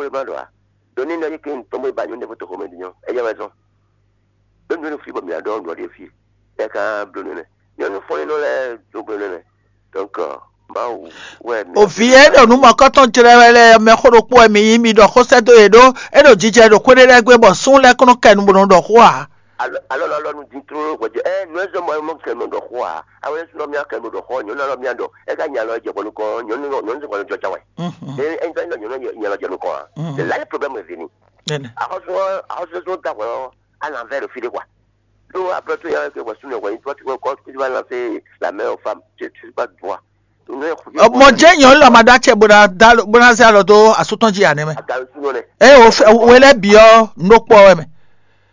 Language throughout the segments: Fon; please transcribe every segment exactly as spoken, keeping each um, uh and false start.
Ɖo ma ɖo a? Ɖo ní nɔ yí ke ŋutɔn bó ba nyɔ̌nu ɖé fó toxo mɛ din ɔ́, é jɛ wɛ zɔn. Ɖó nyɔ̌nu fí bɔ mǐ ná ɖɔ nǔ ɖé fí, é ka bló nɛnɛ. Nyɔ̌nu fɔ́n nínú lɛ́ɛ dó bló nɛnɛ. Donc, Mawu wɛ mǐ. Òvǐ e ɖo nǔ mɔ̌kɔ́tɔn jlɛ́ wɛ lɛ́ɛ mɛ xó ɖokpó wɛ mi nyí, mi ɖɔ xó sɛ́ dó yě ɖó, é ɖo jijɛ ɖo xwé ɖé lɛ́ɛ gbe bɔ sún lɛ́ɛ kún nɔ kɛ nu bó nɔ ɖɔ xó ǎ. Alɔ alɔ nu dín tlóló hwɛjɛ ɛ nǔ e zɔn mɔ mɔ kɛ nɔ ɖɔ xó ǎ. Awo yɛn sunɔ mía kɛ nɔ ɖɔ xó, nyɔ̌nu alɔ mía ɖɔ, é ka nya alɔ jɛ bɔ nukɔn, nyɔ̌nu nyɔ̌nu sɔn kɔ jɔ ca wɛ. Ɛ ɛ nya alɔ jɛ nukɔn ǎ. Nya alɔ jɛ nukɔn ǎ. Là yɛ problème vini. Axɔsɔ axɔsɔ da hwɛ ɔ, à l'envers de fide quoi. Donc après tout, il y a que voici le roi, toi tu vois, quand tu vas lancer la main aux femmes, tu tu pas droit. Mɔ jɛ nyɔ lɔ ma ɖa cɛ bó ná zɛ alɔ dó asú tɔn jí anɛ mɛ. Eye wò fɛ wò lɛ biɔ nukpɔ wɛ mɛ.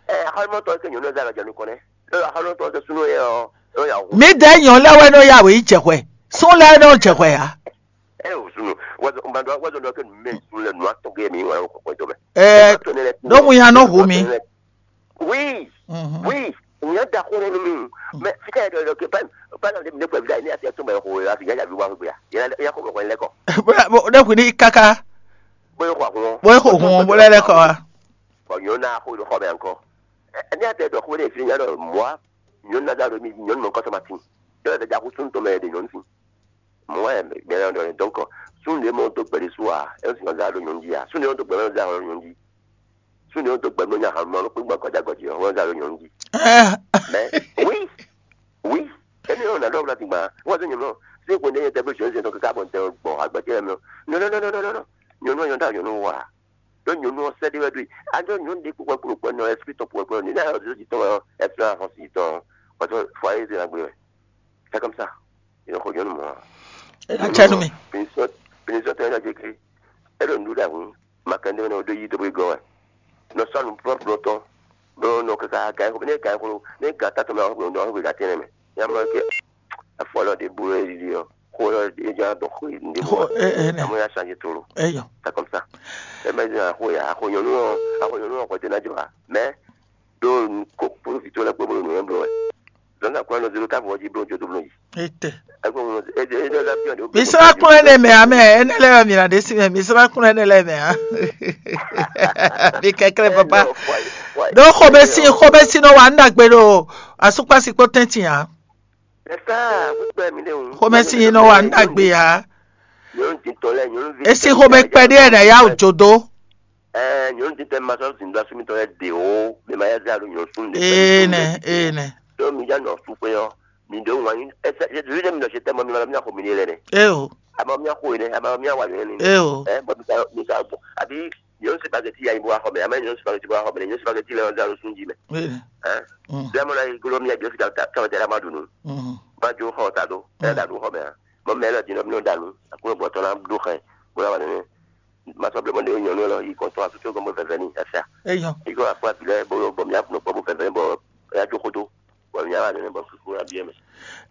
Ɛ xɔlɔmɔ tɔ ke nyɔnu zɛ alɔ jɛ nukɔn nɛ. Ɛ xɔlɔmɔ tɔ ke sunu yɛ ɔ ɛ ya hu. Mi dɛ nyɔ lɛ wɛ nɔ ya wò yi jɛ hwɛ. Sun lɛ nɔ jɛ hwɛ ya. Ɛ o sunu. Wazɔ mba dɔ wazɔ dɔ ke mɛ sun lɛ nua tɔ ke mi wa ko ko to mɛ. Ɛ. N'o mu ya nɔ hu mi. Oui. Oui. Nya da xó nínú mi. Mɛ fika yɛ dɔ ke pa pa na ne kpɛ vida ne ati to mɛ xo ya fi ya bi wa xo ya. Ya ya xo ko lɛ kɔ. Ne kun ní kaka. Bóyá xo àkùn. Bóyá xo kun bó lɛ lɛ kɔ wa. Bɔ nyɔnu na xo xɔ mɛ nkɔ. Ɛni ati dɔ xo ne fi nya dɔ mɔa nyɔnu na da do mi nyɔnu mɔ kɔsɔ ma tin. Yɔ da ja xo sun to mɛ de nyɔnu fin. Mɔa yɛ mɛ dɔ donc sun de mɔ to gbɛdi su a. E sin ka da do nyɔnu ji a. Sun de mɔ to gbɛdi da do nyɔnu ji. Sun de mɔ to gbɛdi nya ha mɔ kpe gbɔ kɔja gɔji ɔ. Wɔ da do nyɔnu ji. Mɛ oui. Oui. Emi ɔ na dɔ wla tingba. Wɔ se nyɔnu. Se ko ne yɛ tɛ bi jɔn se to kaka bɔ ntɛ gbɔ agbɛtɛ mɛ. Non non non non non non. Nyɔnu nyɔnu da nyɔnu wa. Ɖó nyɔnu ɔ́ sɛ́ ɖé wɛ ɖó e. A ɖó nyɔnu ɖé kpó kpɛkpó kpɛ́ nɔ ɛspí tɔn kpó kpɛ́ ní náyɔ zó jǐ tɔn wɛ ɔ́, ɛspí tɔn afɔn si tɔn ɔ́, fɔ ayé zé agbe wɛ. C'est comme ça. Yě nɔ xɔ nyɔnu mɔ̌ ǎ. Ena cɛ nú mi. Pinition tɔn ena jɛ kiri. É ɖo nǔɖuɖu ɖe ahun. Ma kɛ ndé mɛ nɔ ɖó yí dó bó gɔ́ wɛ. Nɔ sɔ́ nǔ plɔ́plɔ́ tɔn. Ɖó nɔ kaka gǎn xo, ne gǎn xo, ne gǎn tátɔn mɛ ɔ́, nɔ xo gǎn tɛnɛ mɛ. Yá mɔ ke. Afɔ lɔ ɖe bú é ɖiɖi ɔ́, xó ɔ́ é ján dɔn xó ɖěbǔ ǎ. Amɔ̌ yá changé tlóló. Eyɔ. C'est comme ça. Ɛ mɛ zin axó ya, axó nyɔ̌nu ɔ́, axó nyɔ̌nu ɔ́ xwɛtɛ ná jɔ ǎ. Mɛ ɖó kó kpódó vǐ towe lɛ́ɛ kpó bó ɖo nǔ nywɛ́ bló wɛ. Zɔ̌n zǎn kplɔ́n nɔ zé ɖó távo ɔ́ jí bló jó dó bló yi. Ete. Ɛ kó ŋlɔ é é é é é. Mi srá kún ɛnɛ mɛ ame ɛnɛ lɛ mi na ɖe si mɛ mi srá kún ɛnɛ lɛ mɛ a. Mi kɛkɛlɛ papa. Ɖó xomɛsi xomɛsi nɔ wa nɖagbe ɖo asukpasi kpó tɛntin a. Xomɛsi nɔ wa nɖagbe a. Esi xomɛ kpɛɖé ɛnɛ ya wò jodo. Ɛɛ nyɔnu titɛ ma sɔ́ zǐn dó asú mitɔn lɛ́ɛ ɖe ó, mɛ ma yá zé alo nyɔ̌nu súnnu ɖé. Ee nɛ, ee nɛ. Ɖó mi já nɔ sú xwé ɔ́, mi ɖó wǎn yí ɛsɛ yézú ɖé mi nɔ se tɛ́ mɔ mi ma mi axɔ mi ní lɛ nɛ. Ee o. Ama mi axɔ yi nɛ, ama mi awa yɔ nɛ. Ee o. Ɛ bɔ mi sa mi sa bɔ àbí nyɔ̌nu sipageti ya yi bó axɔ mɛ, ama nyɔ̌nu sipageti bó axɔ mɛ, nyɔ̌nu sipageti lɛ ɔ́ zé alo sún jí mɛ. Ee. Ɛ Mm. Zé mɔ lɛ yi gló mi yɛ jɔ sika ta tɔn tɛ la ma ɖu nu. Mm. Ma jó xɔ ta ɖó, ɛ da ɖu xɔ mɛ a. Mɔ mɛ lɛ din nɔ mi nɔ da nu, akúnɔ bɔ tɔn na ɖó xɛ, bó la wa nɛ. Ma sɔ blé mɔ ɖe nyɔnu lɔ yi kɔntɔn asutó gɔmɔ vɛvɛ ni ɛsɛ. Eyɔ. Iko akpɔ abilɛ bolo bɔ mi akunɔ kpɔ bo vɛvɛ bɔ ya jo kodo. Bɔ mi ala nene bɔ kuku abiɛ mɛ.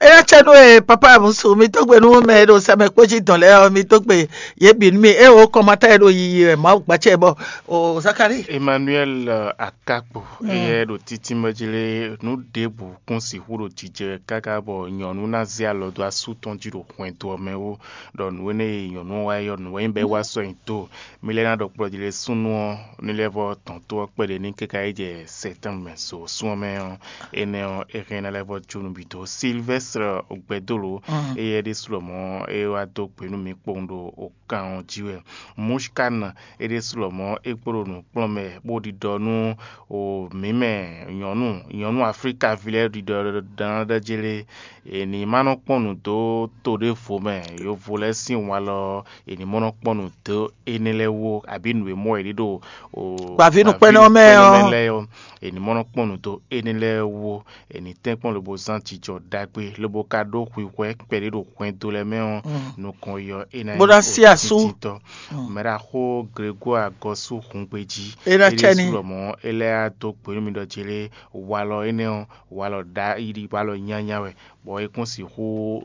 Eya cɛ ɖo e papa musu mi tó gbe nú mɛ e ɖo sɛmɛ kpó jí dɔn lɛ ɔ mi tó gbe yě bǐ nú mi e wo kɔmatá e ɖo yiyi wɛ Mawu gbacɛ bɔ o Zakari. Emmanuel Akakpo eyɛ ɖo títí mɛ jí lé nú ɖěbǔ kún sixú ɖo jijɛ káká bɔ nyɔ̌nu ná zé alɔ dó asú tɔn jí ɖo hwɛndo ɔ́ mɛ wú. Ɖɔ nǔ énɛ́ e nyɔ̌nu ɔ́ wá yɔ nǔ wɛ nyí bɔ é wá sɔ́ nyi tó. Mi lɛ́ ná ɖɔ kplɔ́ jí lé súnnu ɔ́ ní lɛ́ vɔ́ tɔn tó ɔ́ kpɛɖé ní káká yi jɛ sɛtɛ́nbɛn so sún ɔ́ mɛ ɔ́, énɛ́ ɔ́, é hɛn ná lɛ́ vɔ́ jó nǔ bǐ dó. Silvɛ́stre Gbɛdólo, éyɛ́ ɖésú lɔmɔ̌ é wá dó gbe nú mǐ kpowun ɖo kan ɔ́ jí wɛ. Mushkan é ɖésú lɔmɔ̌ é kpo ɖo nǔ kplɔ́n mɛ bó ɖiɖɔ nú o mǐ mɛ nyɔ̌nu nyɔ̌nu Aflíkaví lɛ́ɛ ɖiɖɔ ɖɔ ná ɖɔ jélé è ní ma nɔ kpɔ́n nǔ dó to ɖěvo mɛ yovo lɛ́ɛ sín walɔ è ní mɔ nɔ kpɔ́n nǔ dó énɛ́ lɛ́ɛ wú abǐ nǔ e mɔ è ɖi ɖo o Gbǎvínúkpɛ́nɔ mɛ ɔ́. Lɛ́ɛ ɔ́, è ní mɔ nɔ kpɔ́n nǔ dó énɛ́ lɛ́ɛ wú è ní tɛ́nkpɔ́n lobo zán jijɔ ɖagbe lobo ka ɖó hwihwɛ́ kpɛɖé ɖo hwɛndo lɛ́ɛ mɛ ɔ́ nukɔn yi ɔ́ é ná Bó ná nyí sí asú. Títítɔ́. Mɛɖaxó Grégoire Gɔ́sú Hungbejí É ná cɛ ní. Lɔmɔ̌ é lɛ́ dó gbe nú mi ɖɔ jélé walɔ énɛ́ ɔ́ walɔ ɖa yi walɔ nyanya wɛ bɔ é kún sixú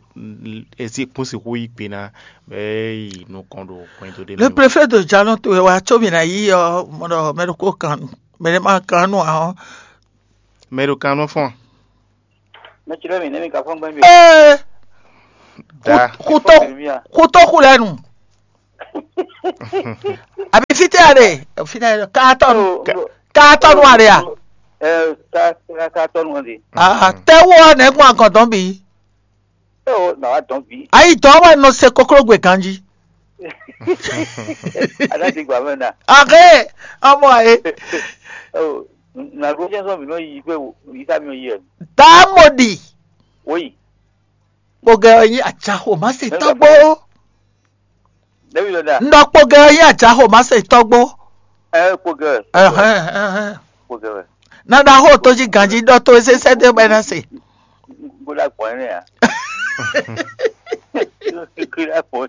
é sí kún sixú yí gbe ná bɔ é yi nukɔn ɖo hwɛndo ɖé Le mɛ. Préfet de Jalon to wa tso mi na yi ɔ mɔdɔ mɛ ɖo ko kan mɛ ɖe ma kan nu ahɔn. Mɛ ɖo kan nɔ fɔn. Mɛ tsi ɖe mi ne mi ka fɔn gbɛn mi. Ee. Da. Kuto kuto ku lɛ nu. Àbí fítɛ́ a ɖe? Fítɛ́ a ɖe? Kaatɔnu. Kaatɔnu a ɖe a? Ɛ, ka ka ka tɔnu ɔ́ ɖe. Ah, tɛ́wú ɔ́ nɛ̌ gbɔn agɔn dɔn bǐ? Ɛ o, nà wá dɔn bǐ. Ayi dɔn wɛ nɔ se koklógbè ganjí. Adájí gbà mɛ na. Ahe, ọmọ ayé. Ɛ o, nà ló jẹ́ sɔ mǐ nɔ yi gbé o, yí sá mi nɔ yi ɛ. Tá a mọ̀ ɖi. Wóyi. Kpogɛ ɔ́ nyí acaxo má se tɔ́gbó. Ɖevi lɔ da. Ŋɖɔ kpogɛ ɔ́ nyí acaxo má se tɔ́gbó. Ɛ kpogɛ. Ɛhɛn, ɛhɛn. Kpogɛ wɛ. Nana xo tó jí ganjí ɖɔ tó sésé dé bɛ ná se. Gbọ́dọ̀ gbọ́n ní à. Kíkí dá pọ̀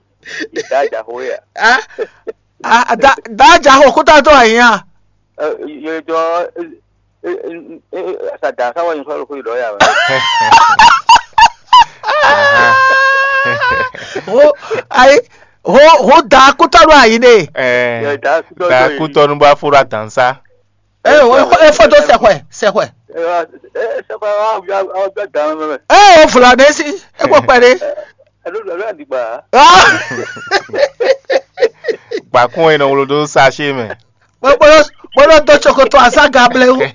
ìdá àjàkó yà. Ah, ah, da da acaxo kúta tó àyìn à. Yẹjọ sàdá sáwọn yìí sọ̀rọ̀ kó ìdọ̀ yà wẹ̀. Ho ayi ho ho da kútɔnu ayi ne. Ɛ Yɛ da kútɔ da yìí. Kútɔnu bá fúra dansa. Ɛ o e fɔ tó sɛxwɛ sɛxwɛ. Ẹ sẹ́kọ̀ àwọn ọjọ́ àwọn ọjọ́ dàn án mẹ́mẹ́. Ɛ o fúlàní sí e kò pẹ̀lú. Ẹ ló lọ́ọ́ àdìgbà. Gbàkún ẹ̀ nà wolo dó sachet mɛ. Bolo bolo bolo do tsokoto aza gable wu. Ẹ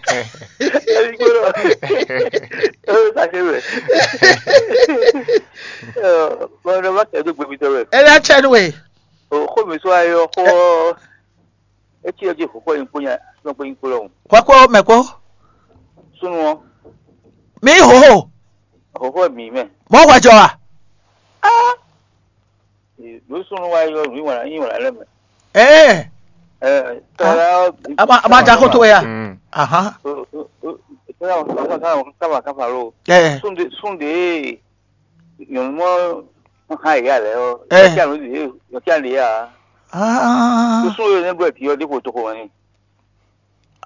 ló sachet mɛ. Bọ́n ọ̀nà má kẹ́ ẹ́ tó gbẹ̀mí tọ́ mẹ́. Ẹ lẹ́ tsẹ́ nu e. O xó mi sɔ ayé ɔ́ xó ɔ́. Etí ɔ́ jí xɔxɔ nyi kpó nya nɔ kpó nyi kpó lɔhùn. Kɔkɔ mɛ kɔ. Súnú ɔ́. Mi hoho. Xɔxɔ mi mɛ. Mɔ wajɔ wa. Ló súnú wa yɔ nù wà nyi wà lɛ mɛ. Ɛɛ. Ɛ tɔlá. A ma a ma ja koto ya. Mm. Ahan. Kama kama lo. Ɛɛ. Sunde sunde. Nyɔnu mɔ ha yi alɛ ɔ. Ɛ. Yɔkia nu de yɔkia de ya. Ah. Susu yɔ ne bɔ ti yɔ de ko to ko wani.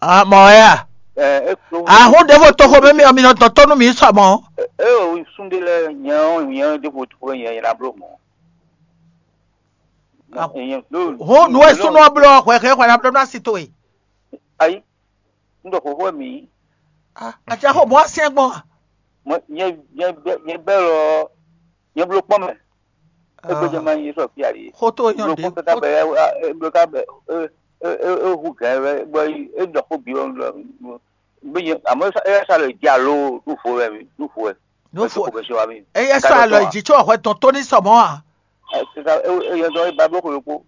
Ah, mɔ ya. Ɛ e ko. Ahun de bo to ko mɛ mi mi nɔ tɔn tɔnu mi sɔ mɔ. E o sunde lɛ nyɛ o nyɛ de ko to ko nyɛ yɛ na blo mɔ. Ah. Ho nu e sunɔ blɔ hwɛ hwɛ hwɛ na blɔ na si to e. Ayi. Un ɖɔ xɔxɔ mi. Ah, acaxo bɔ asiɛn gbɔn a? Mɔ nyɛ nyɛ bɛ nyɛ bɛ lɔ nyɛ blo kpɔn mɛ. Egbe jɛ ma nyi sɔ fi ali. Xoto nyɔ de. Blo kpɔn ka bɛ e blo ka bɛ e e e hu gɛ bɛ bɔ e ɖɔ xo bi wɛ. Be nyɛ amɔ e sa lɛ dza lo ɖu fo wɛ mi ɖu fo wɛ. Ɖu fo wɛ. Eya sɔ alɔ dzi tsɔ hwɛ tɔn tó ní sɔmɔ a? Eyɔ dɔ e ba blo xo yokpo.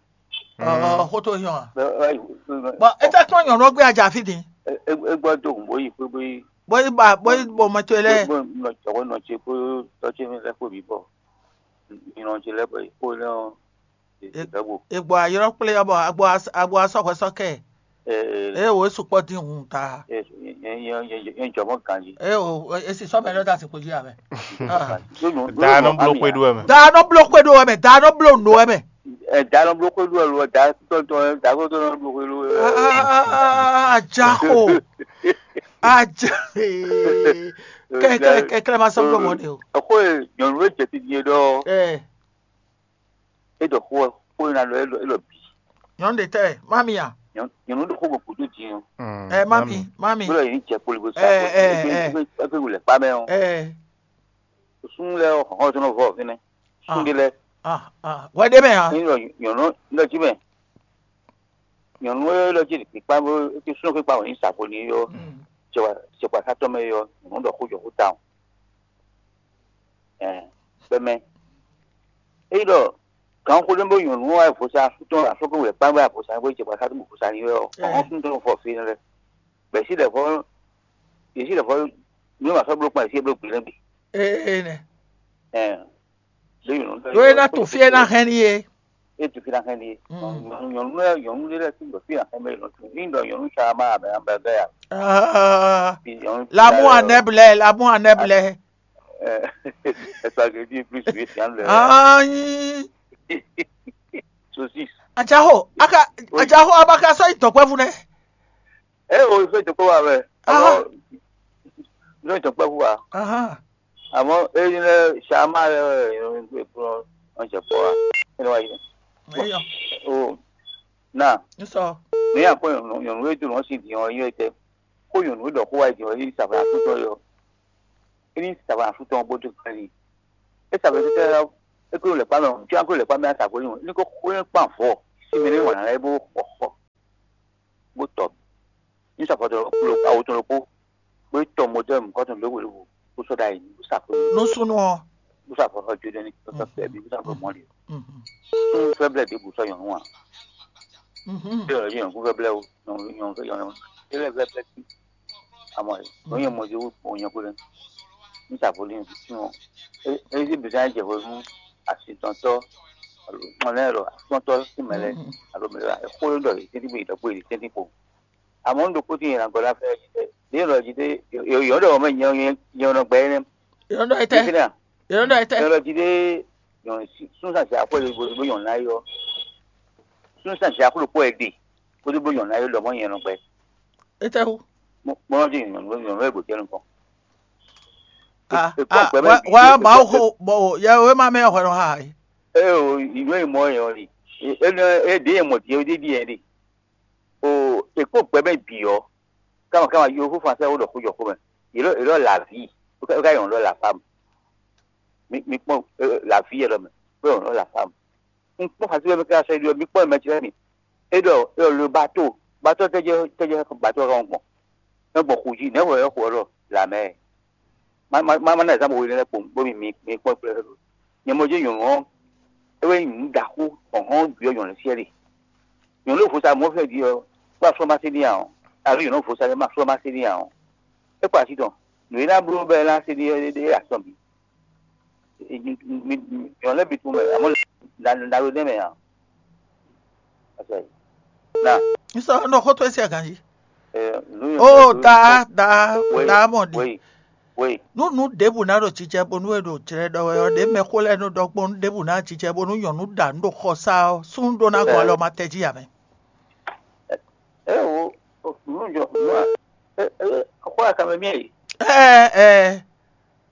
Ɔɔ xoto yɔn a? Bɔn e tɛ kplɔn nyɔnu ɔ́ gbé aja fí din. E gbɔ do hùn bó yi xwé bó yi. Bó yi ba bó yi bɔ mɛ to lɛ. Bó nɔ jɔwɔ nɔ ce kó tɔ ce mi lɛ kó mi bɔ. Mi nɔ ce lɛ bɔ yi kó lɛ ɔ. Egbɔ ayɔrɔ kplé ɔ́ bɔ agbo agbo asɔxwɛ sɔ kɛ. Ee, eye wò é sukpɔ dín hun ta. Yẹn jɔ mɔ ganji. Eye wò é si sɔ mɛ lɔ da si kpo jí amɛ. Da nɔ blo xwe ɖu wɛ mɛ. Da nɔ blo xwe ɖu wɛ mɛ. Da nɔ blo nǔ wɛ mɛ. Ɛ da nɔ blo xwe ɖu wɛ lo da tɔntɔn da ko tɔn nɔ blo xwe ɖu wɛ. Ajaxo. Aja. Kɛkɛ kɛkɛ ma sɔ blo mɔ de o. Ɛkó ye nyɔnu e jɛ ti die ɖɔ. Ɛ. E ɖɔ xó ɛ xó e na ɖɔ e ɖɔ e ɖɔ bǐ. Nyɔnu ɖe tɛ mami a? Nyɔnu ɖo xó gbogbo dó din ɔ. Ɛ mami mami. Bó lɔ yìí jɛ kpoli bó sa. Ɛ ɛ ɛ. Ɛ fẹ́ wulẹ̀ kpá mɛ ɔ. Ɛ. Sún lɛ ɔ xɔxɔ tó nɔ vɔ fínɛ. Sún ɖe lɛ. Ah ah wɛ ɖe mɛ a? Ní lɔ nyɔnu lɔ jí mɛ. Nyɔnu lɔ jí kpikpa bó ti sún kpikpa wɔ ní sa ko ní yɔ. Cɛkpa cɛkpa sátɔ mɛ yɔ nyɔnu ɖɔ xó jɔ xó ta o. Ɛɛ kpɛmɛ. Eyi ɖɔ gan xó ɖé bó nyɔnu wa vosa tɔn afɔkɔ wɛ kpá wɛ avosa wɛ jɛ kpasa tó vosa ni wɛ ɔ ɔn tún tó fɔ fi lɛ bɛ si lɛ fɔ yesi lɛ fɔ mi ma sɔ blo kpa yesi blo gbe lɛ bi. Ee nɛ. Ɛɛ lóye nɔ ɖo e na to fi e na hɛn ni ye. E to fi na hɛn ni ye. Nyɔnu lɛ nyɔnu lɛ ti gbɔ fi na hɛn bɛ yɔnu tún ni ɖɔ nyɔnu sa ma abɛ abɛ bɛ ya. L'amour en herbe lɛ, l'amour en herbe lɛ. Espagueti plus huit yan lɛ. Anyi. Saucisse. Ajaho aka ajaho abaka sɔ itɔkpɛvu nɛ. E o fɛ tɔkpɛ wa mɛ. Amɔ fɛ tɔkpɛvu wa. Amɔ eyi lɛ sama lɛ wɛ yɔn kplɔ ɔn jɛ kpɔ wa. Ɛnɛ wa yi. Eyɔ. O na. Nsɔ. Ne yà kpɔ nyɔnu nyɔnu e do nɔ si di ɔn yi tɛ. Ko nyɔnu e dɔ ko wa yi di ɔn yi saba akutɔ yɔ. Eni saba afutɔ bó dó kpɛ́n n'i. É saba tɛ́tɛ́ ɔ́, É kó lɛ́ kpá mɛ, cí kó lɛ́ kpá mɛ asǎ kó ní kó xwé kpán vɔ sí mɛ ní wǎn lɛ́ɛ bó xɔ xɔ bó tɔ ní safɔ tɔn kplo awo tɔn ɖokpó bó tɔ mɔtɛr mɔkɔtɔn lówó lówó bó sɔ́ ɖ'ayǐ bó sa xwé Nú súnnu ɔ́. Bó sa xwé xɔ jó dɛ́ ní sɔ́ fɛ́ bí bó sa xwé mɔ́ ɖě. Súnnu fɛ́ blɛ́ ɖěbǔ sɔ́ nyɔ̌nu ǎ. Bí ɔ́ nyɔ̌nu fɛ́ blɛ́ o, nyɔ̌nu nyɔ̌nu fɛ́ nyɔ̌nu é lɛ́ fɛ́ blɛ́ sí. Àmọ́ ɛ ló nyɛ mɔ jí wú kpɔn nyɛ kúlẹ̀ ní sàfó ní sún ɔ́. É é sí bìsán jɛ hwenu asitɔntɔ́ alo mɔlɛ lɔ asitɔntɔ́ sí mɛ lɛ alo mɛ lɛ xó ló ɖɔ yě tɛ́ntin bó yě ɖɔ bó yě tɛ́ntin kpo. Àmọ́ un ɖokpó tín yě ná gɔ́ ná fɛ́ jí tɛ. Yě lɔ jí tɛ yǒ ɖɔ mɛ nyɛ nyɛ nɔ gbɛ énɛ́. Yǒ ɖɔ étɛ́? Yǒ ɖɔ étɛ́? Yǒ lɔ jí tɛ. Sún sàn sí akwɛ́ lóbo lóbo nyɔ̌nu ná yɔ. Sún sàn sí akwɛ́ lóbo ẹ̀ ɖe. Kó lóbo nyɔ̌nu ná yɔ lɔ mɔ nyɛ nɔ gbɛ. Étɛ́ wú? Mo mo nɔ jí nyɔ̌nu nyɔ̌nu ẹ̀ gbǒjɛ́ nukɔn. Ah, Ekpɔ ah, gbɛ mɛ wá bi wá ekpɔ Mawu gbɛ xo bɔ yɛ wé ma mɛ hwɛ nɔ ha. Eye o ìlú e mɔ yɛ ɔ́ li. Énɛ́ é ɖě yɛ mɔ ɖi é ɖi yɛ ɖi. O èkpó gbɛ mɛ bǐ ɔ́, káma káma yóhó fún asẹ́ wó ɖɔ xó jɔ xó mɛ. Yě ɖɔ yě ɖɔ lǎví, é ká nyɔ̌nu ɖɔ lǎfámu. Mi mi kpɔ́n lǎví yɛ ɖɔ mɛ, bó nyɔ̌nu ɖɔ lǎfámu. Un kpɔ́n xasí wɛ mi ká sɔ́ yi ɖɔ mi kpɔ́n mɛ ce lɛ́ɛ mi. É ɖɔ é ɖɔ lo bato, bato tɛ́jɛ tɛ́jɛ bato ɔ́ ká gbɔn. É gbɔn xu jí, nɛ̌ wɛ é xo ɔ́ ɖɔ lǎmɛ? Má má má má ná zǎn bɔ hwenɛ́ lɛ́ɛ kpowun bónú mi mi kpɔ́n kplɔ́. Nyɛ mɔ jɛ́n nyɔ̌nu ɔ́, é wɛ nyí nǔ ɖaxó ɔ̌hɔn ɖu ɔ́ nyɔ̌nu siɛ́ ɖe. Nyɔ̌nu e vo sa mɔ̌ fɛ́ din ɔ́, kpó aflɔ́ má se n'i ǎ ɔ́, alo nyɔ̌nu e vo sa lɛ́ɛ má aflɔ́ má se n'i ǎ ɔ́, é kpo así tɔn. Nǔ e ná bló bɔ é ná se n'i é é asɔ́ bǐ. Nyɔ̌nu lɛ́ɛ bǐ tunwun mɛ, amɔ̌ na na ɖo nɛ́ mɛ ǎ. Na N sɔ́ nɔ xó towe sín aganjí. Ɛ, nu yɔ Ó, da da da mɔ ɖi. Wei wei. Nú nǔ ɖěbǔ ná ɖo jijɛ bónú è ɖo jlɛ́ ɖɔ wɛ ɔ́, ɖě mɛxó lɛ́ɛ nɔ ɖɔ gbɔn nú ɖěbǔ ná jijɛ bónú nyɔ̌nu ɖa nǔ ɖo xɔsá ɔ́, súnnu ɖó ná gɔn alɔ ma tɛ jí ǎ mɛ. Ɛ o, o, nu jɔ nu a ɛ ɛ xɔ akamɛ mi yi. Ɛ ɛ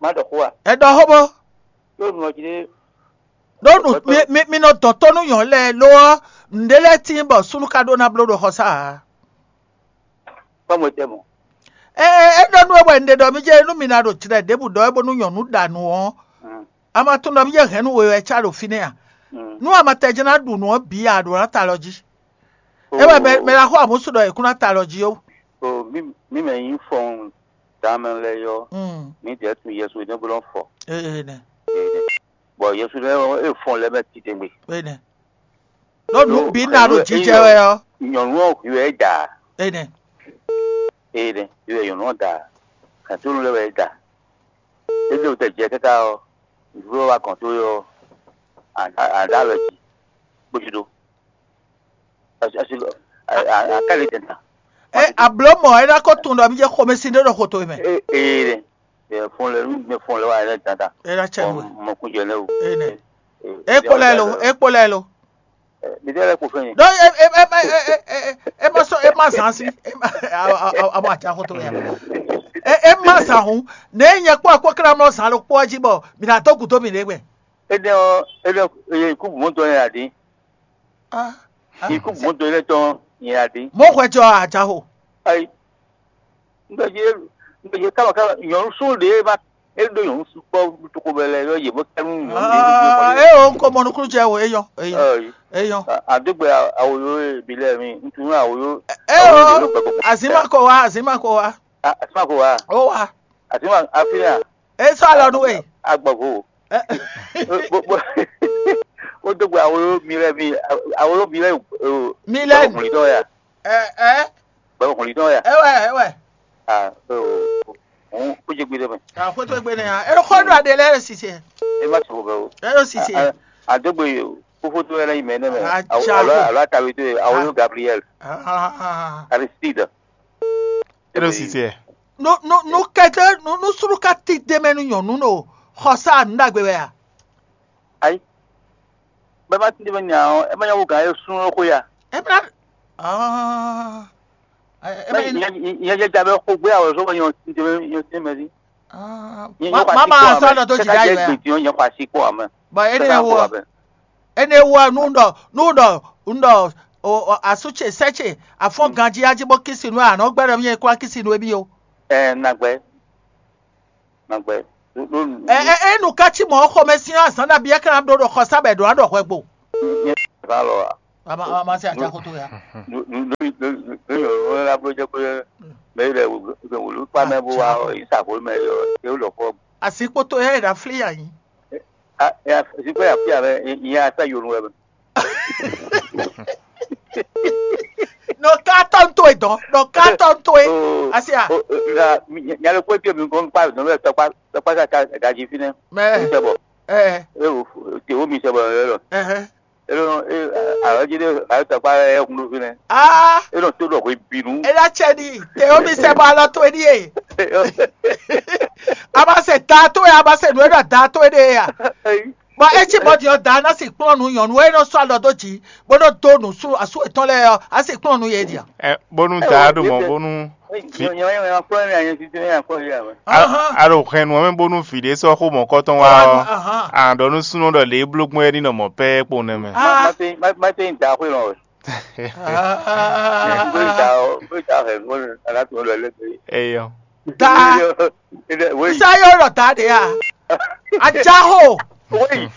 Má ɖɔ xó a? Ɛ ɖɔ xó bó. Ɖó nu ɔ jí ɖé. Ɖó nu mi mi mi nɔ dɔn tó nú nyɔ̌nu lɛ́ɛ lo ɔ́, nǔɖé lɛ́ɛ tíin bɔ súnnu ka ɖó ná bló ɖo xɔsá ǎ. Kpɔ́n mo tɛ mɔ. Ɛ ɛ é ɖɔ nú we wɛ un ɖe ɖɔ mí jɛ nú mi ná ɖo jlɛ ɖěbǔ ɖɔ é bónú nyɔ̌nu ɖa nǔ ɔ́, a ma tunwun ɖɔ mí jɛ hɛ̌n nú we wɛ cá ɖo fínɛ́ a? Nú a ma tɛ jɛ́n ná ɖu nǔ ɔ́ bǐ a ɖǒ ná ta alɔ jí. É wɛ mɛ mɛ ná xo amǔsú ɖɔ è kún ná ta alɔ jí ó. O mí mí mɛ nyí fɔn dǎmɛ lɛ́ɛ yɔ, mí ɖɛ̌ tun Yɛsu é nɛ́ bó nɔ́ fɔ. Ee nɛ. Bɔ Yɛsu lɛ́ɛ é fɔn lɛ́ɛ mɛ titewungbe. Ee nɛ. Ɖó nǔ bǐ ná ɖo jijɛ wɛ ɔ́. Nyɔ̌nu ɔ́ hwi wɛ é da. Ee nɛ. Ee nɛ, hwi wɛ nyɔ̌nu ɔ́ da. Gǎntónú lɛ́ɛ wɛ é da. É lé wǔtɛ jɛ káká ɔ́, vǐ wɛ wá gɔ̌n tó ɔ́, a ɖá alɔ jí, bó jí ɖó. Asi asi a a a ká lě tɛn ta. Ɛ abló mɔ é ná kó tunwun ɖɔ mí jɛ xomɛsin ɖé ɖo xo towe mɛ. Ee ee ɖe. Ɛ fɔn lɛ nu mɛ fɔn lɛ wa yɛ tata. É ná tsɛ nú we. Mɔ kun jɛ lɛ o. Ee nɛ. É kpó lɛ lo, é kpó lɛ lo. Mi tɛ lɛ kpo fɛn. Ɖó é é é é é é é má sɔ é má zan sí. É má a a a a má tsa xo towe ya. É é má zan hun. Ne nyɛ kpó akpó kla mlɔ zan lo kpó ɔ́ jí bɔ mi ná dó gǔdo mi ɖé gbɛ. Énɛ́ ɔ́, énɛ́ ɔ́, kú mɔ̌ tɔn nyɛ ǎ dín. Ah, ah, Ikú mɔ̌ tɔn énɛ́ tɔn nyɛ ǎ dín. Mɔ̌ hwɛ jɔ àjǎxo. Ayi, un ɖɔ jí un ɖɔ jí káma káma nyɔ̌nu sú ɖě ma é ɖó nyɔ̌nu sú kpɔ́ tókó bɛ lɛ yɔ yě bó kɛ́ nú nyɔ̌nu ɖě. Ah, é o, un ko mɔ nukúnnú jɛ o, é yɔ, é yɔ, é yɔ. Àdógbè àwòyó bǐ lɛ mi, un tunú àwòyó. É o, azǐn ma ko wá, azǐn ma ko wá. Àsímà ko wá. Ó wá. Àsímà àfihàn. É sɔ́ alɔ nú we. Agbɔ̀gbò. Ɛ, Bó- bó- Ó dó gbe awolo mi lɛ mi awolo mi lɛ. Mi lɛ. Gbɛbɔ kùnrin tɔn ya. Ɛ ɛ Gbɛbɔ kùnrin tɔn ya. Ɛ wɛ, ɛ wɛ. Ah, òun kó jẹ gbé dɛ mɛ. Àkótó gbé ni hàn. Ẹ ló kọ́ nù adé lẹ́rìí sísè. Ẹ má sọ̀rọ̀ bẹ́ẹ̀ o. Ẹ ló sísè. Àdógbè kófó tó yẹ lẹ́yìn mẹ́ nẹ́mẹ́. Àjà Alo kò. Alo àtàwé tó yẹ awolo Gabriel. Ah, Aristide. Eno sisi ɛ. Nu nu nu kɛtɛ nu nu suru ka ti deme nu nyɔnu no xɔsa nu dagbe wɛ a? Ayi. Bɛɛ ma ti deme nya ɔ, ɛ ma nya wo gan ye sun ɔ ko ya. Ɛ bla. Ah. Ɛ Mɛ ma nya nya nya ja bɛ ko gbé awɔ sɔgɔ nyɔ ti deme nyɔ ti mɛ si. Ah. Nyɔ Ma nyɔ ma xɔ asi ma kpɔ sa amɛ. Dɔ to Kɛka jija jɛ yi wɛ. Gbe ti nyɔ nyɔ xɔ asi kpɔ amɛ. Ba ene Kɛka wo. Xɔ amɛ. Ene wɔ nu ɖɔ nu ɖɔ nu ɖɔ o o asu ce sɛ ce afɔn ganji aji bɔ kisi nu anɔ gbɛ ɖɔ mi yɛ kura kisi nu ebi o. Ɛ nagbɛ. Nagbɛ. Ɛ ɛ enu ka ci mɔ xɔmɛ sin azan na biɛ kana ɖo ɖo xɔsa bɛ ɖo aɖɔ hwɛ gbo. Nyɛ va lɔ a. Ama ama se aja koto ya. Nú nú nú nú nú nú la blo jɛ kó mɛ yi lɛ wòlú kpa mɛ bó wa yi sa vo mɛ yɔ yɛ wò lɔ fɔ. Asi kpoto ya yi ɖa fli ya yi. A ya si kó ya fi ya mɛ yi ya sa yonu wɛ mɛ. Nɔ ka tɔn to e dɔn nɔ ka tɔn to e. Asi a. Nyalo kó tiɛ mi kó kpa nɔ bɛ tɔkpa tɔkpa sa ta daji fi nɛ. Mɛ. Sɛ bɔ. Ɛ. E wo te wo mi sɛ bɔ yɔ yɔ. Ɛhɛn. E lɔ e alɔ ji de ayi tɔkpa yɛ kun do fi nɛ. Aa. E nɔ to dɔ hwe binu. E la cɛ di te wo mi sɛ bɔ alɔ to e di ye. A ma se da to e a ma se nu e ɖɔ da to e de ya. Bɔ e ci bɔ diɔ da na si kplɔn nu nyɔnu e nɔ sɔ alɔ do ji bó nɔ do nu su asu etɔn lɛ ɔ a si kplɔn nu ye dia. Ɛ bónú da ɖo mɔ bónú. Nyɔnyɔ yɛ wɛ kplɔn mi anyɛ titi ne akɔ yi awɛ. A- Ahɔn. Alo hɛn nu ɔmɛ bónú vǐ ɖé sɔ́ xó mɔ̌kɔtɔn wá ɔ́. Ahɔn. Àɖɔ nú súnnu ɖɔ lě e bló gbɔn é ní nɔ mɔ pɛ́ kpo nɛmɛ. Ah. Mate mate da xwe lɔ. Ah. Bóyá da bóyá da hɛn nu ala tó lɔ lɛ. Eyɔ. Da. Wei. Isa yóò lɔ da de ya. Ajaho. Wei.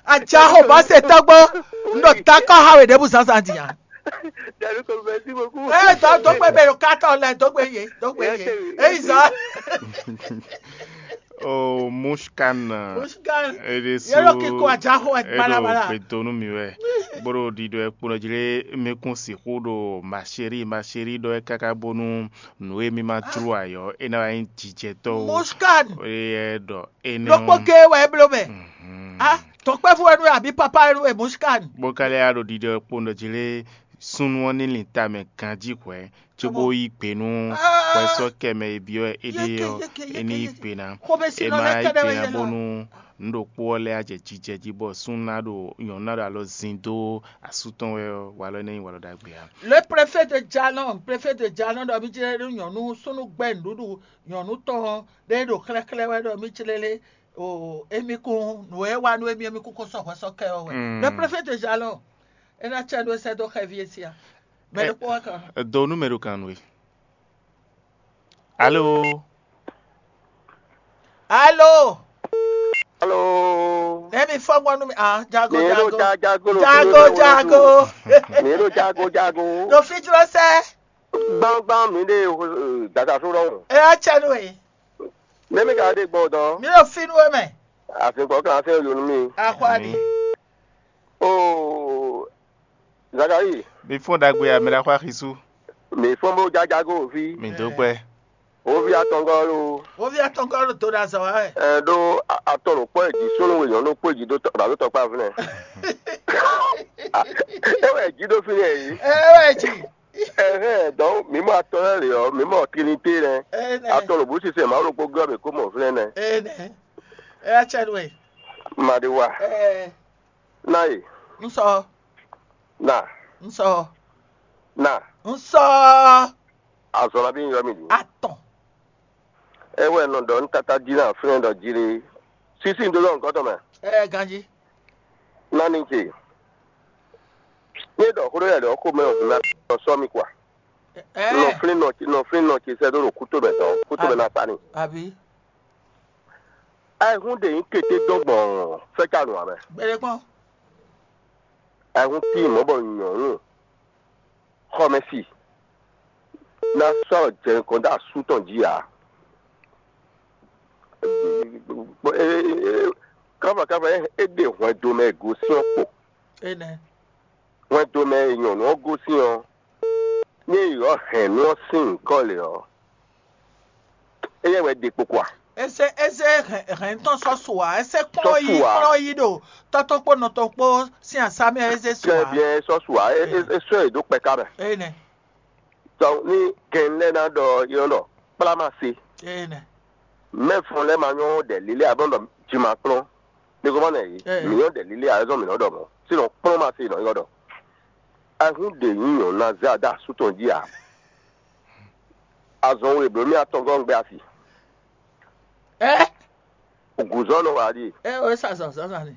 Ajaho bá se tɔgbɔ. N ɖo da kɔ ha wɛ ɖebu zanzan di ya. Dàdú kò bẹ sí mo kú. Ɛ dɔ dɔgbe bɛ yɔ katɔ lɛ dɔgbe ye dɔgbe ye. Eyi zan. Oh, Mushkan. Mushkan. Eɖe su. Yɛlɛ kiko ajaho ɛ balabala. Eɖo gbedonu mi wɛ. Boro ɖiɖɔ ekpo nɔ jlé mekun sixu ɖo macheri macheri ɖɔ ɛ kaka bonu nǔ e mi ma jló ayɔ e na wá nyí jijɛtɔ o. Mushkan. Eye ɖɔ ene. Ɖokpó ge wɛ e bló mɛ. Mhm. Ah, tɔkpɛvu wɛ nú wɛ abi papa wɛ nú wɛ Mushkan. Bó ka lɛ́ ya ɖo ɖiɖɔ ekpo nɔ jlé súnnu ɔ́ ní lin tamɛ ganjí hwɛ̌. Cóbó yí gbe nú hwɛsɔ́kɛ mɛ e byɔ́ éɖée ɔ́, é ní yí gbe ná. É má yí gbe ná bónú nǔ ɖokpó ɔ́ lɛ́ á jɛ jijɛ jí bɔ súnnu ná ɖo nyɔ̌nu ná ɖo alɔ zin dó asú tɔn wɛ ɔ́, walɔ énɛ́ nyí walɔ ɖagbe ǎ. Le préfet de Jalɔn, préfet de Jalɔn ɖɔ mí jlé ɖó nyɔ̌nu súnnu gbɛ́ nǔɖuɖu nyɔ̌nu tɔn ɔ́ ɖé ɖo xlɛ́xlɛ́ wɛ ɖɔ mí jlé lé o émí kún nǔ e wa nú émí émí kún kó sɔ́ hwɛsɔ́kɛ ɔ́ wɛ. Le préfet de Jalɔn, é ná cɛ nú é sɛ́ dó xɛví e sia. Mɛ ɖokpó wá kan. Do nú mɛ ɖo kan nú we. Alo. Alo. Alo. Emi fɔgbɔn nú mi. Ah, jago, mi ɖo jago. Ja- jago ɖo jago, fínú jago. Mi ɖo jago jago. Ɖo fijlɔ sɛ. Gbangban mi ɖe dada so ɖɔhun. E ya cɛ nú e. Ne mi ka ɖe gbɔ dɔn. Mi ɖo fínú e mɛ. Afinkɔ kan se yonu mi. Axwa ni. Oo, Zakari. Mi fɔ́n ɖagbe a, mi ɖo axwa xisú. Mi fɔ́n bó jájá gó òfí. Mi dó gbɛ. Òfí atɔngɔ́ ló. Òfí atɔngɔ́ ló tó ɖo azɔ wa wɛ. Ɛ ɖó atɔ ɖo kpɔ èjì súnú wè nyɔ̌nu kpó èjì ɖo tɔkpa fínɛ. É wɛ èjì ɖó fínɛ yìí. Ɛ wɛ èjì. Ɛhɛn, donc mi mɔ atɔ lɛ lě ɔ́, mi mɔ Trinité nɛ. Atɔ ɖo bǔ sise Mawu ɖokpó gɔ́ mǐ kó mɔ fínɛ nɛ. Ene. Eya cɛ nú we. Maɖiwa. Ɛ. Na yi. Ŋsɔ. Na. Ŋsɔ. Na. Ŋsɔ. Azɔn na bí yɔ mi ɖu. Atɔn. É wɛ nɔ ɖɔ nú tata jí ná fínɛ ɖɔ jí ɖé. Sísí un dó ɖɔ nǔkɔn tɔn mɛ. Ɛ ganjí. Nani ce. Ní ɖɔ xó ɖé lɛ ɖɔ xó mɛ ɔ́ ná sɔ́ mi kɔ a? Ɛ. Nɔ flín nɔ nɔ flín nɔ ce sɛ́ dó ɖo kútó mɛ tɔn kútó mɛ ná sa ni. Àbí. Ayihún ɖe nyí kété dɔn gbɔn fɛ́cánu ǎ mɛ. Gbɛɖe kpɔ́n. Ayihún tíin mɔ̌ bɔ nyɔ̌nu xɔmɛsi ná sɔ́ jɛ nukɔn dó asú tɔn jí ǎ. Káfɔkáfɔ é ɖe hwɛndo mɛ e gosín ɔ́ kpo. Énɛ́. Hwɛndo mɛ e nyɔ̌nu ɔ́ gosín ɔ́, ní è ylɔ̌ hɛ̌nnu ɔ́ sín nyǐkɔ lě ɔ́, éyɛ́ wɛ ɖe kpokpo a? Eze eze hɛn hɛn tɔn sɔ́ su ǎ, eze kplɔ́n yi kplɔ́n yi ɖo tɔ́ tɔn kpó nɔ tɔn kpó sín asá mɛ eze su ǎ. Kɛ biɛ sɔ́ su ǎ, é é é sɔ́ yě dó kpɛká mɛ. Énɛ́. Tɔ ní gɛn lɛ́ɛ ná ɖɔ yɔ ɖɔ kplá ma se. Énɛ́. Mɛ fɔn lɛ́ɛ ma nyɔ́ ɖɛ lílé abɔ ɖɔ jǐ ma kplɔ́n. Mi ko ma nɛ yí. Ɛ. Mi nyɔ́ ɖɛ lílé a zɔn mi nɔ ɖɔ mɔ. Sinɔ kplɔ́n ma se nɔ yɔ ɖɔ. Ahun ɖe nyí nyɔ̌nu ná zɛ adá asú tɔn jí a? Azɔn we blǒ mì atɔngɔ́ un gbé asi. Ɛ. Gǔzɔ́ nɔ wá ɖi. Ɛ o sa zɔn zɔn zɔn ni.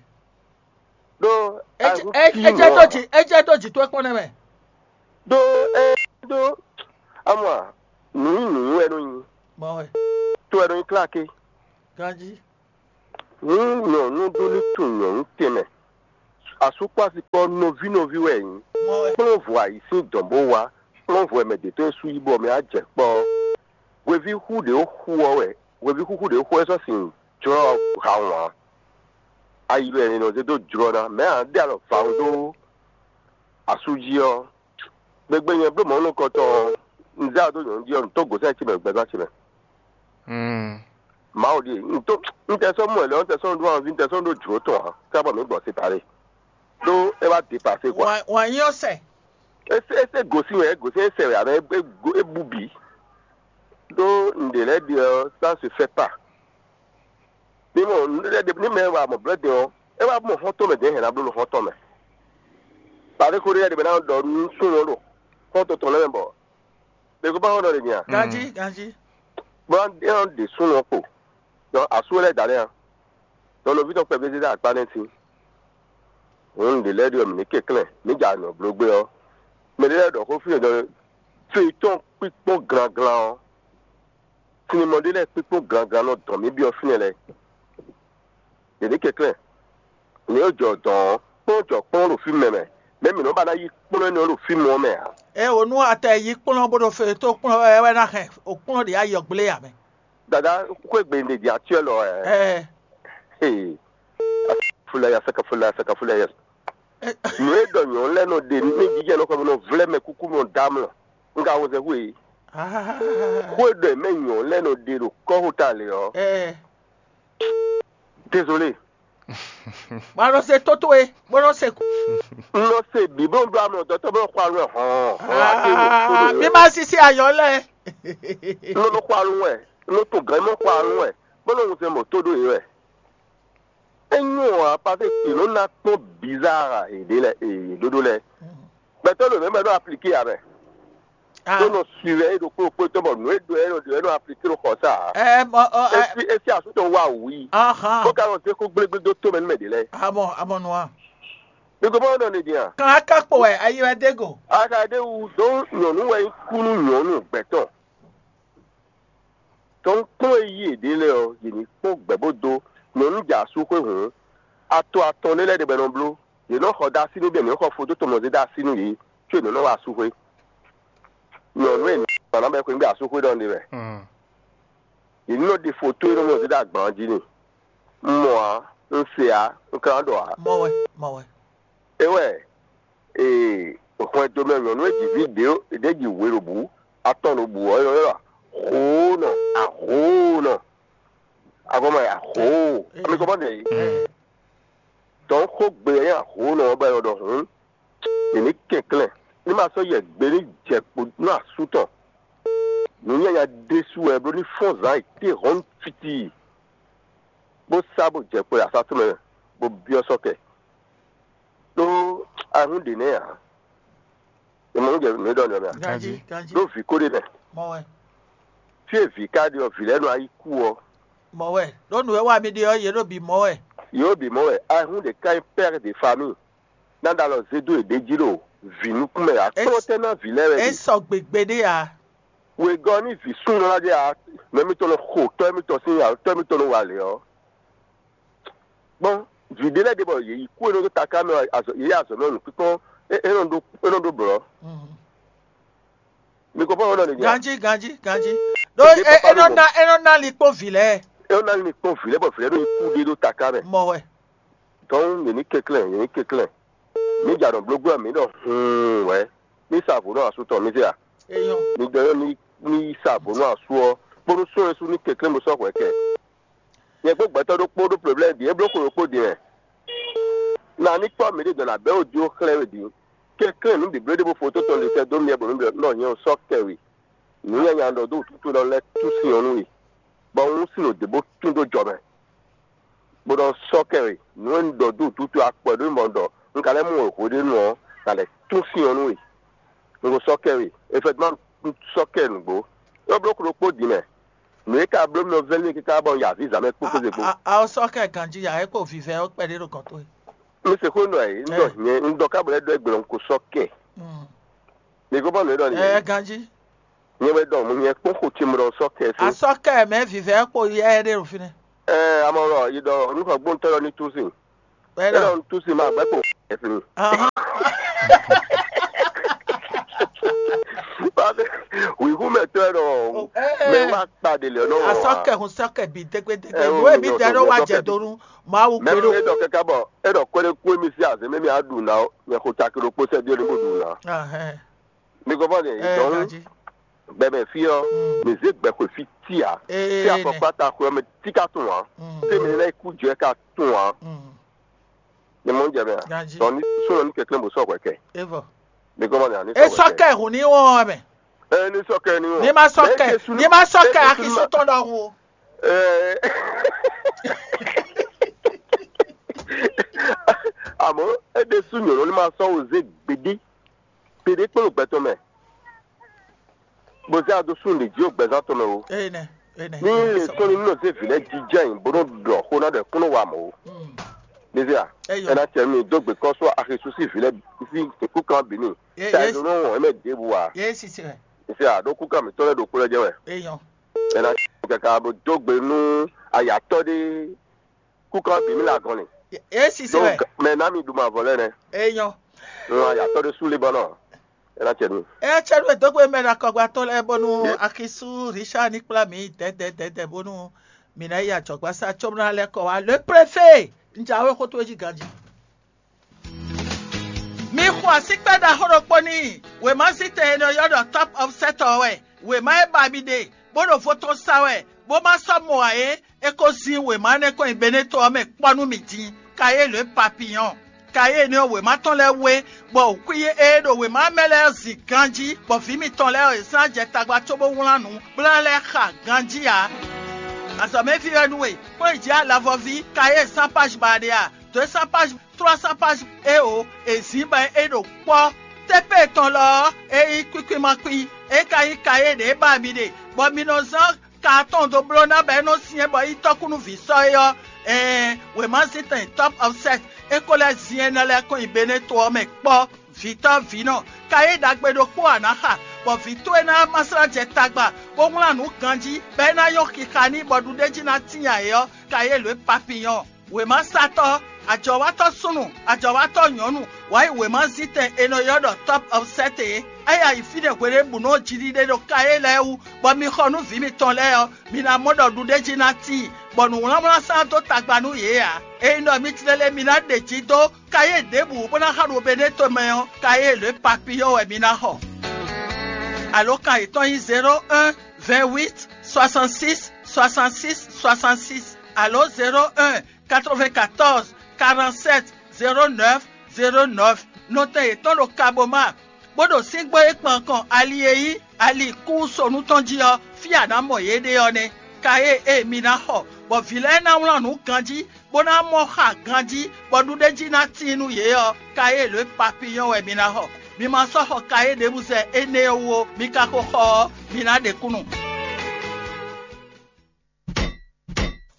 Ɖó ejɛ ejɛ tó dzi ejɛ tó dzi tó kpɔn nɛ mɛ. Ɖó ɛ ɖó amɔ a Nǔ nyi nǔ wɛ nɔ nyi, mɔ wɛ tó wɛ nɔ nyi kláké. Ganji. Nú nyɔ̌nu ɖó ní tunwun nyɔ̌nu tɛnmɛ, asú kpó asi kpó nɔví nɔví wɛ é nyí. Mɔ wɛ Kplɔ́n vɔ ayǐ sín dɔ̌n bó wá, kplɔ́n vɔ mɛ ɖě tɔn e sú yí bɔ mɛ á jɛ kpɔ́ ɔ́. Hweví xú ɖě ó xú ɔ́ wɛ, hweví xúxú ɖě ó xú wɛ sɔ́ sin jlɔ́ ha wǎn. Ayi wɛ è nɔ zé dó jlɔ́ ná, mɛ̌ ǎ ɖe alɔ vǎ dó asú jí ɔ́. Gbegbe nyɛ bló mɔ̌ nukɔntɔn ɔ́, un zé aɖó nyɔ̌nu jí ɔ́, un tó gǒsɛ́n ce mɛ gbɛzán ce mɛ. Mawu ɖíe, un tó un tɛ sɔ́ mɔ ɛ lɛ́ɛ, un tɛ sɔ́ ɖó anví, un tɛ sɔ́ ɖó jlǒ tɔn ǎ, kábɔ mǐ gbɔ séparé. Ɖó é wá dépasé quoi. Wǎn nyí ɔ́ sɛ. É sé é sé gosín wɛ, é gosín é sɛ wɛ, abɛ é bu bǐ. Ɖó un ɖě lɛ́ɛ ɖe ɔ́, ça se fait pas. Ní mɔ ní mɛ wa mɔ blɛ́ din ɔ́, é wá mɔ xɔ́ntɔn mɛ dɛ̌ hɛn ná bló ɖo xɔ́ntɔn mɛ. Pàdé ko ɖé ɖe bɛ ná ɖɔ nú súnnu ɔ́ ɖo xɔ́ntɔn tɔn lɛ́ɛ mɛ bɔ bɛ ko ba xɔ nɔ ɖe nya. Ganji ganji. Bɔ é nɔ ɖe súnnu ɔ́ kpo. Dɔn asú lɛ́ɛ da lɛ́ɛ a. Dɔn nɔví tɔn kpɛví zé dó akpá nɛ́ sín. Hǔn ɖě lɛ́ɛ ɖi ɔ́ mǐ ní kɛnklɛ́n, mǐ ja nɔ bló gbé ɔ́. Mɛ ɖé lɛ́ɛ ɖɔ xó fí ɖɔ feyitɔ́n kpíkpɔ́n glanglan ɔ́, sinimɔ ɖé lɛ́ɛ kpíkpɔ́n glanglan nɔ dɔn mǐ byɔ́ fínɛ́ lɛ́ɛ. Yě ní kɛnklɛ́n, nǔ e jɔ dɔn ɔ́, kplɔ́n jɔ kplɔ́n ɖo fí mɛ mɛ, mɛ̌ mǐ nɔ ba ná yí kplɔ́n énɛ́ ɔ́ ɖo fí mɔ ɔ́ mɛ ǎ. É wǒ nú atɛ yí kplɔ́n bó ɖo fe tó kplɔ́n wɛ wɛ ná hɛn o kplɔ́n ɖě ayɔ gblé ǎ mɛ. Dada xwé gbe ɖe dzi atyɔ́ lɔ ɛ. Ɛ Ee, fulaya saka fulaya saka fulaya. Nǔ e ɖɔ nyɔ̌nu lɛ́ɛ nɔ ɖe ní jijɛ nɔ xɔ nɔ vlɛ́ mɛ kúkú nɔ dá mlɔ. Un ka wozɛ xwe. Xwe ɖɔ mɛ nyɔ̌nu lɛ́ɛ nɔ ɖe ɖo kɔ́xota lě ɔ́. Ɛ Désolé. Bó nɔ se tó towe bó nɔ se kú. Un nɔ se bǐ bó ɖó amlɔ dɔtɔ́ bó xɔ alɔ hɔn. Mi ma sisi ayɔ lɛ. Un nɔ xɔ alɔ wɛ, un nɔ to gɛ̌n mɔ xɔ alɔ wɛ, bó nɔ wozɛ mɔ tó ɖó yě wɛ. Enyɔ ɔ́, apase ce nɔ ná kpɔ́n bizarre èɖé lɛ èɖóɖó lɛ. Gbɛtɔ́ ɖo mɛ bɔ é nɔ aplike ǎ mɛ. Tó nɔ suivre é ɖokpó ɖokpó tɔn bɔ nǔ e ɖo é nɔ ɖo é nɔ aplike ɖo xɔ sa ǎ. Ɛ mɔ ɔ ɛ Esi esi asútɔ wa wǔ yi. Ahan. Bó ka nɔ zé xó gblégblé dó tó mɛ nú mɛ ɖě lɛ́ɛ. Amɔ amɔ nua. Mi ko bɔ nɔ ne din a. Kan aka kpo wɛ ayi wɛ dé go. Aka ɖe wu dó nyɔ̌nu wɛ nyí kú nú nyɔ̌nu gbɛtɔ́. Tɔn kplɔ́n e yí yěɖée lɛ́ɛ ɔ́, yě ní kpɔ́n gbɛ̌ bó dó nyɔ̌nu jɛ asú xwé hǔn. Ato atɔn ɖé lɛ́ɛ ɖe bɔ è nɔ bló. Yě nɔ xɔ dó así nú bɛ́, yě nɔ xɔ fodó tɔn mɔ zé dó así nú yě, có yě nɔ nɔ wá asú xwé. Nyɔ̌nu e nǎ bɛ xwé gbé asú xwé ɖɔ ɖe wɛ. Yě ní nɔ ɖe foto e nɔ mɔ zé dó agban jí n'i. Un mɔ ǎ, un se ǎ, un ka ná ɖɔ ǎ. Mɔ wɛ mɔ wɛ. É wɛ ee hwɛndo mɛ nyɔ̌nu e ji vǐ ɖě ɖě ji wě ɖo bǔ atɔn ɖo bǔ ɔ́, é nɔ ylɔ́ ahoonɔ ahoonɔ. Agɔ́mɛ ahoo. Ami kɔ bɔ ɖe yi. Dɔn xó gbe ɛ ahoo nɔ bɔ ɛ ɖɔ hǔn. Mǐ ní kɛnklɛ́n ní ma sɔ́ yɛ gbe ní jɛ kpo nú asú tɔn. Nǔ nyanya ɖésú wɛ bló ní fɔ́n zǎn yi té hɔn fitii, bó sá bó jɛ kpo yi asá tɔn mɛ bó byɔ́ sɔ́ kɛ. Ɖó ahún ɖě nɛ́ ǎ. È mɔ nú jɛ nǔ e ɖɔ nɛ mɛ a? Ganji ganji. Ɖó vǐ ko ɖé nɛ. Mɔ wɛ Fí e vǐ ka ɖe ɔ́, vǐ lɛ́ɛ nɔ ayi kú ɔ́, mɔ wɛ. Ɖó nǔ e wa mi ɖe ɔ́ yě ɖo bǐ mɔ wɛ. yě ɖo bǐ mɔ wɛ. Ahún ɖě ká nyí père de famille. Ná ɖo alɔ zé dó yěɖée jí ɖo vǐ nukún mɛ ǎ. Kplɔ́n tɛ́ ná vǐ lɛ́ɛ wɛ É ɖe. Sɔ gbegbe ɖé a. Wegɔ́ ní vǐ súnnu lɔ́ ná ɖe ǎ, mɛ mitɔn nɔ xo tɔ́ mitɔn sín ya, tɔ́ mitɔn nɔ wa lě ɔ́. Gbɔn vǐ ɖé lɛ́ɛ ɖe bɔ yě yi kú e nɔ dó taká mɛ azɔ yě yi azɔ mɛ nukpíkpɔ́n é é nɔ ɖó é nɔ ɖó blɔ̌. Mi kɔ fɔ́n nɔ ɖe nya. Ganji ganji ganji. Ɖó Ɖé é papa é nɔ ló ná é nɔ ná likpɔ́n vǐ lɛ́ɛ. É nɔ ná ní kpɔ́n vǐ lɛ́ɛ bɔ vǐ lɛ́ɛ ɖo yi kú ɖé ɖó taká mɛ. Mɔ wɛ. Dɔn yě ní kɛnklɛ́n yě ní kɛnklɛ́n. Mí jà nɔ bló gbé mǐ ɖɔ hun wɛ. Mí sa vo nɔ asú tɔn mí zé a. Eyɔn. Mi dɔ yɔ ní ní sa vo nɔ asú ɔ kpódó sún ɛsú ní kɛnklɛ́n bó sɔ́ hwɛ kɛ. Nyɛ kpó gbɛtɔ́ ɖokpó ɖó problème ɖi é bló xwe ɖokpó din wɛ. Na ní kpɔ́ mǐ ɖe dɔn nǎ bɛ́ wǒ dó xlɛ́ we din. Kɛnklɛ́n nǔ bǐbló ɖé bó fo tó tɔn ɖe sɛ́ dó miɛ bɔ mǐ ɖɔ nɔ nyɛ sɔ́ kɛ we. Nǔ nyanya ɖɔ dó wǔtútú ɖɔ lɛ́ tú sin ɔ́ nú we, bɔ un sin ɖo dě bó tún dó jɔ mɛ, bó nɔ sɔ́ kɛ we. Nǔ e un ɖɔ dó wǔtútú akpɔ ɖó mɔ ɖɔ un ka lɛ́ mɔ wěxo ɖé nu ɔ́, un ka lɛ́ tún sin ɔ́ nú we. Un ko sɔ́ kɛ we, efɛtuma un sɔ́ kɛ nǔgbó. É bló klo kpó din mɛ. Nǔ e ka bló mi ɔ́ vɛ́ nú káká bɔ un ya avǐ zǎn mɛ kpó kpéze kpó. A ɔ sɔ kɛ ganji ya é kpo vivɛ ó kpɛɖé ɖo gɔn towe. Mi se xó nɔ ɛ, un ɖɔ nyɛ un ɖɔ ká bɔ lɛ́ ɖɔ ẹgbẹ̀rún un ko sɔ́ kɛ. Mi ko bɔ nǔ e ɖɔ ni. Ɛ ganji. Nyɛ wɛ ɖɔ nyɛ kpɔ́n xo ce mɔ ɖɔ sɔ́ kɛ sín. Asɔ́ kɛ mɛ vivɛ kpo yɛ ɖe ɖo fínɛ́. Ɛɛ, amɔ ɖɔ yi ɖɔ nukɔn gbóntɔ́ ɖɔ ní tú sin. Bɛ́ É ɖɔ ɖɔ ní tú sin ma gbɛ́ kpo kɛ sín. Ahán. Wǐhú mɛ tɔ́ ɛ ɖɔ mɛ wá kpa ɖe lɛ nɔ. Asɔ́ kɛ hun sɔ́ kɛ bǐ dégbédégbé. Ɛ, Nǔ e mí o, dɛ o, ɖó o, wá o, jɛ o, do nú Mawu mɛ gbé ɖo. E ɖɔ kɛkɛ bɔ e ɖɔ kɔ́ɖé kú émí sí azě mɛ mí á ɖu ná ɔ́, nyɛ xo caki ɖokpó sɛ́ ɖi ɔ́ ní bó ɖu ná. Ahɛn. Mi gɔ́ fɔ ɖe Ɛ dɔn ganjí. Gbɛmɛ fí ɔ́, Mm. Mi zé gbɛxwe fí tí ǎ. Ee, Fí afɔkpá ta xwe ɔ́ mɛ tí ka tún ǎ. Mm. Fí mi lɛ́ kú jɛ ka tún ǎ. Mm. Mi mɔ jɛ mɛ a? Ganjí. Dɔn ní súnɔ ní kɛklɛ́n bó sɔ́ hwɛ kɛ. Evɔ. Mi gɔ́ fɔ ɖe ní E sɔ́ sɔ́ hwɛ kɛ. Kɛ hùn ní wɔn wɛ mɛ. Ɛ ní sɔ́ kɛ ní wɔn. Ní ma sɔ́ Mɛ kɛ, Jesu ní ma sɔ́ Mɛ kɛ Jesu Axi ma- sún tɔn ɖɔhun o. Ɛɛ. Àmọ́ é ɖésú nyɔ̌nu ní ma sɔ́ wò zé gbeɖé gbeɖé kpó ɖo gbɛtɔ́ mɛ, bó zé ado sún lě jí ɖo gbɛzán tɔn mɛ o. Eye nɛ, eye nɛ. Ní lè sɔ́ ní nɔ zé vǐ lɛ́ɛ jijɛ nyi bó nɔ ɖɔ xó ná ɖɔ kúnɔ wa mɔ̌ o. Mm. Ní zé a? Eyɔ. Ɛ ná tɛ nú dó gbe kɔ́ sɔ́ Axi sú sí vǐ lɛ́ɛ sí kúkan bǐ n'i. Ye- Ta ye- ɛ nɔ wɔn ɛmɛ ɖěbǔ a? Ye sisi wɛ. Ní zé a ɖó kúkan mǐtɔn lɛ́ɛ ɖo kpó lɛ́ jɛ wɛ. Eyɔ. Ɛ ná tɛ kaka bó dó gbe nú ayatɔ́ ɖé kúkan bǐ mì le agɔn lin. Ye sisi Ɖó wɛ. Ga- mɛ ná mi ɖu mavɔ lɛ́ɛ nɛ. Eyɔ. Ŋun ayatɔ́ ɖé sú Libanɔ. É ná cɛ nú. Ecɛ́ɖú e dó gbe mɛ ɖo akɔgbatɔ́ lɛ́ɛ bónú Ye- Akisú Richard ní kplá mǐ dɛ̌dɛ̌dɛ̌dɛ̌ bónú mǐ ná yi ajɔ̌gbásá cóbó ná lɛ́ kɔ wá. Le préfet, un jǎwe xó towe jí ganjí. Mi xo asíkpɛ́ ɖaxó ɖokpó n'i. Wěmazítɛn e nɔ ylɔ́ ɖɔ Top of Set ɔ́ wɛ. Wěma e ba mi ɖe, bó ɖo vo tɔn sa wɛ, bó ma sɔ́ mɔ ǎ é, é ko zin wěma énɛ́ kɔn nyi Beneto ɔ́ mɛ kpɔ́ nú mì din. Kayélu e papiyɔn. Kayélu ɔ́ wěma tɔn lɛ́ɛ wú é, bɔ wǔkwín e ɖo wěma mɛ lɛ́ɛ ɔ́ zin ganjí, bɔ vǐ mitɔn lɛ́ɛ ɔ́, yě zán jɛ tagba cóbó wlán nǔ, bó ná lɛ́ xa ganjí ǎ. Azɔ̌mɛví wɛ nú we, kplɔ́n yi jǐ alavɔví, kayé zán páj ba ɖe a? Dǒ e zán páj trois cents pages eo è zǐn bɔ é ɖo kpɔ́. Tépé tɔn lɔ ɔ́, é nyí kwíkwímakpí, é ka nyí kayé ɖě ba mi ɖe, bɔ mi nɔ zán ka atɔn dó bló ná bɔ é nɔ syɛ́n bɔ é nyí tɔ́kúnú vǐ sɔ́ é ɔ́. Ɛɛn, wěmazíntɛn Top of Set é ko lɛ́ zin énɛ́ lɛ́ɛ kɔn nyi Beneto ɔ́ mɛ kpɔ́. Vǐtɔ́ vǐnɔ, kayé ɖagbe ɖokpó a nǎ xa, bɔ vǐ towe ná ma slá jɛ tagba, bó wlán nǔ ganjí, bɔ é ná nyɔ́ xixa n'i bɔ ɖuɖéjí ná tíin ǎ é ɔ́, kayé lǒ e papiyɔn. Wěmasatɔ́, ajɔ̌watɔ́ súnnu, ajɔ̌watɔ́ nyɔ̌nu, wǎ yi wěmazíntɛn è nɔ ylɔ́ ɖɔ Top of Set é. É yi ayǐ fínɛ́ hweɖěbǔnu ɔ́ jiɖiɖe ɖo kayé lɛ́ɛ wú, bɔ mi xɔ nú vǐ mitɔn lɛ́ɛ ɔ́, mi ná mɔ ɖɔ ɖuɖéjí ná tíin, bɔ nǔwlánwlán sán dó tagba nú yě ǎ. Ényí ɖɔ mi tlɛ lɛ́ɛ mi ná ɖe jǐ dó kayé ɖěbǔ bó ná xa ɖo Beneto mɛ ɔ́, kayé lě papiyɔ́ wɛ mi ná xɔ. Alǒkan yětɔn nyí zéro un, vingt huit, soixante six, soixante six, soixante six, alo zéro un, quatre vingt quatorze, quarante sept, zéro neuf, zéro neuf. Nɔtɛn yětɔn ɖo Kaboma, bó ɖo síngbó e kpan kɔn ali e nyí ali kúsonu tɔn jí ɔ́, fí a nǎ mɔ yě ɖe ɔ́ nɛ́. Kayé e mi ná xɔ, bɔ vǐ lɛ́ɛ ná wlán nǔ ganjí, bó ná mɔ xa ganjí, bɔ ɖuɖéjí ná tíin nú yě ɔ́, kayé lě papiyɔ́ wɛ mi ná xɔ. Mi ma sɔ́ xɔ kayé ɖěbǔ zɛ énɛ́ ɔ́ wú ó, mi ka ko xɔ ɔ́, mi ná ɖe kúnnu.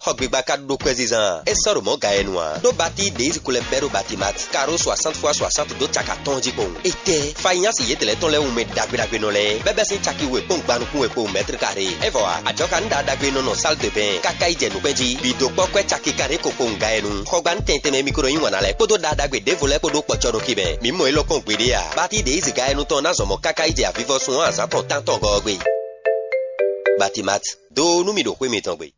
Xɔ gbigba ka ɖó kwɛ́ zizan, é sɔ́ ɖo mɔ̌ ga e nu ǎ. Ɖó batí ɖě yi ko lɛ́ bɛ́ ɖó Batimat, karo soixante fois soixante dó caka tɔn jí kpowun. Étɛ́, Fayinyasi yětɛn lɛ́ɛ tɔn lɛ́ɛ wú mɛ ɖagbe ɖagbe nɔ lɛ́ɛ, bɛ́ bɛ́ sín caki we kpɔ́n gban nukún we kpowun mɛ́tri karé. É vɔ ǎ, ajɔ̌kan ɖagbe nɔ nɔ sál de bɛn káká yi jɛ nukpɛ́n jí, bǐ dó kpɔ́ kwɛ́ caki kanɖé ko kpowun ga e nu. Xɔgbanu tɛn tɛnmɛ mi ko nɔ yí wǎn ná lɛ́ɛ kpódó ɖa ɖagbe ɖěvo lɛ́ɛ kpó ɖó kpɔ̌cɔ nɔ xi mɛ. Mǐ mɔ élɔ́ kpɔ́n gbeɖé ǎ. Batí ɖě yi zǐga e nu tɔn ná zɔn mɔ̌ káká yi jɛ avivɔsun ɔ́ azǎn tɔn tántɔn gɔ́ ɔ́ gbe. Batimat, dó nú mì ɖo xwé mitɔn gbe.